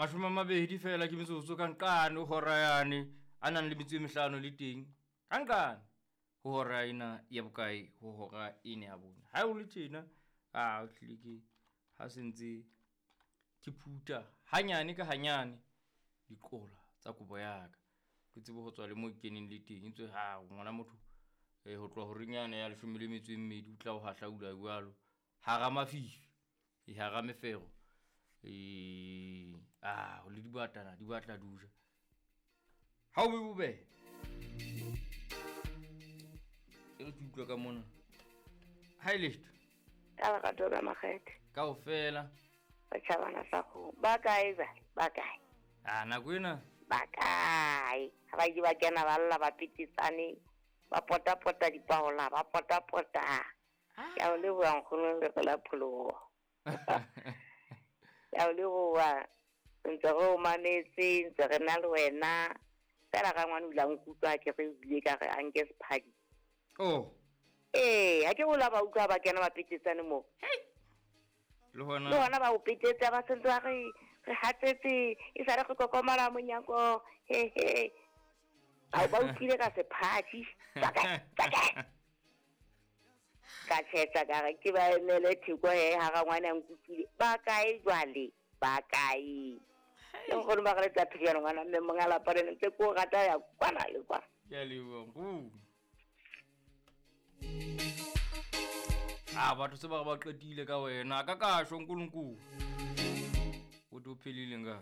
20 fela ke metsotso ka nqane ho hora yane a nang le metso e mehlano le teng ka nqane ho hora ena ya bokae, ho hora ena ya bone. Ha o le tjena, a o hlile ke ha se ntse ke phutha hanyane ka hanyane diqola tsa kobo ya ka. Ke tsebe ho tswa le mo ke keneng le teng. Etswe ha ngwana motho ho tloha horeng yane ya 12 o tla o hahlaula jwalo hara mafifi, e hara mefero. A le dibatana di batla di o ja. Ha o be bobebe. E re ke utlwe ka mona. Ha e letho. Ka lerato la Makgethe. Kaofela. Setjhabana sa kgomo. Ba kae jwale? Ba kae? A nako ena. Ba kae? Ha ba ke ba kena ba lla ba petetsane, ba potapota dipaola, ba potapota. Ke a o leboha nkgono le la pholoho. Ke a o leboha. Ntse re o mametse, ntse re na le wena. Fela rangwane o ile a nkutlwa ke re o bile ka re a nke sephadi. Oh. Ee, ha ke gola ba utlwa ba kena ba petetsane moo. Le hona. Le hona ba o petetsa ba sentse ba re re hatsetse e sale re kokomala monyako. He he. Ba ba utlwile ka sephadi. Tsaka tsaka. Ka thetsa ka re ke ba emele theko he ha rangwane a nkutlwile. Ba kae jwale? Ba kae? Le nkgono ba re tsa phediana ngwana mme monga lapa le ntse ko rata ya kwana le kwana. Ke a leboha nkgono. A batho se ba re ba qetile ka wena ka kasho nkulunkulu. O to phelile nga.